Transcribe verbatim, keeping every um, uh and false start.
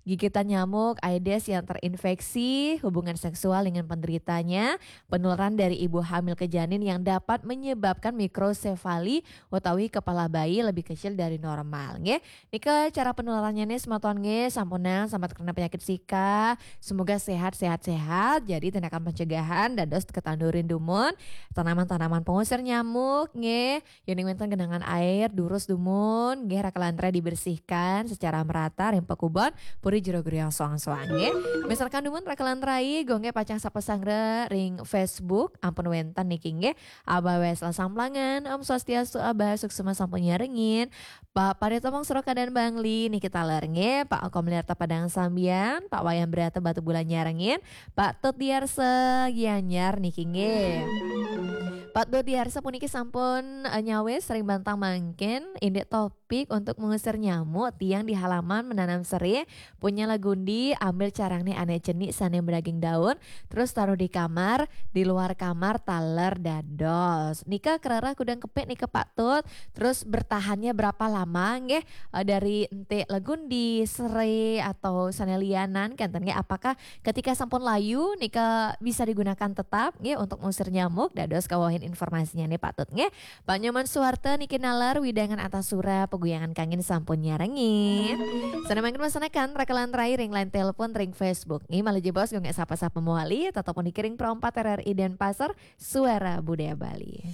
Gigitan nyamuk Aedes yang terinfeksi hubungan seksual dengan penderitanya, penularan dari ibu hamil ke janin yang dapat menyebabkan mikrosefali utawi kepala bayi lebih kecil dari normal, nggih. Nika cara penularannya nih, semeton nggih, sampunang sambat kena penyakit Zika. Semoga sehat, sehat, sehat. Jadi tindakan pencegahan dados ketandurin dumun tanaman-tanaman pengusir nyamuk nggih. Yén wénten genangan air, durus dumun, nggih, rakelan rai dibersihkan secara merata ring pakubon puri jero griya soang-soang nggih. Misalkan dumun rakelan rai, Gung nggih pacang sapa sangra ring Facebook, ampun wénten niki nggih. Abah Wesla Samplangan, Om Swastiastu Abah, suksma sampun nyarengin. Pak Paritomong Surokadan Bangli niki taler nggih, Pak Komliarta Padang Sambian, Pak Wayan Brata Batu Bulan nyarengin, Pak Tut Diarsa Gianyar niki nggih. Pak Dodiarsa puniki sampun, eh, nyawis ring bantang mangkin, indik topik untuk mengusir nyamuk, tiang di halaman menanam serai, punya lagundi, ambil carangné ané cenik sané madaging daun, terus taruh di kamar, di luar kamar taler dados. Nika kerereh kudang kepik nika Pak Tut, terus bertahannya berapa lama nggih, eh, dari entik lagundi, serai atau sané lianan kénten nggih, apakah ketika sampun layu nika bisa digunakan tetap nggih untuk mengusir nyamuk. Dados kawahin informasinya nih Pak Tut nggih. Pak Nyoman Suwarta niki naler wewidangan Antasura, peguyangan kangin sampun nyarengin. Sané mangkin wasanakan rakelan rai ring line telepon ring Facebook nggih, malih jebos Gung nggih sapa-sapa mawali, tetep puniki ring Pro empat R R I Denpasar, Suara Budaya Bali.